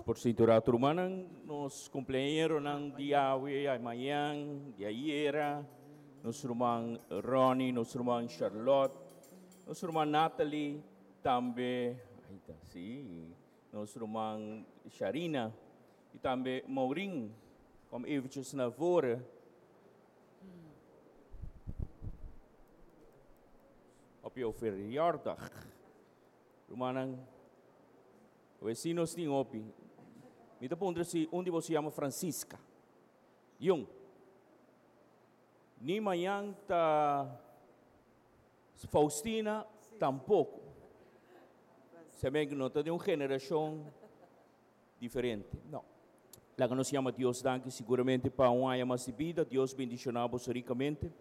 Por sinta un rato, rumannan. Nos cumpleañeronan di awe, mañan, di ayera. Nos ruman Ronnie, nos ruman Charlotte, nos ruman Natalie, tambe, ahí ta, si, nos ruman Sharina y tambe Maureen. Kom eventjes naar voren. Op jouw verjaardag. Rumannan, si nos tin hopi. Mi ta puntra si un di boso yama Francisca. Jong. Ni mañan ta Faustina tampoco. Se ven no ta di un generacion diferente. No. Laga nos yama Dios danki siguramente pa un aña mas di bida. Dios bendiciona boso ricamente.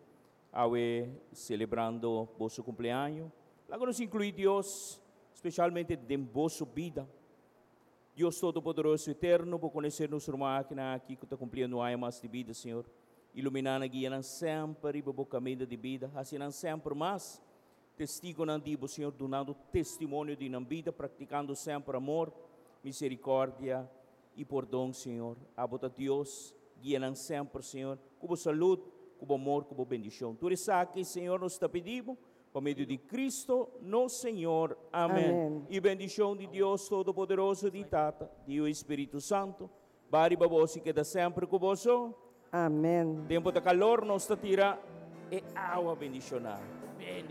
Awe celebrando boso cumpleaños. Laga nos inclui Dios specialmente den boso bida. Dios Todopoderoso Eterno, bo conoce nos rumannan aki cu ta cumpliendo un aña mas di bida, Señor. Ilumina nan, guia nan semper riba bo caminda di bida. Haci nan semper mas testigonan di bo, Señor, dunando testimonio di nan bida, practicando semper amor, misericordia y pordon, Señor. Abo ta Dios, guia nan semper, Señor, cu bo salud, cu bo amor, cu bo bendicion. Tur esaki, Señor, nos ta pidi bo, pa medio di Cristo, nos Señor. Amen. Amen. Y bendicion di Dios Todopoderoso, di Tata, di Spirito Santo, bay riba boso y keda semper cu boso. Amen. Tempo di calor, nos ta tira e awa bendiciona.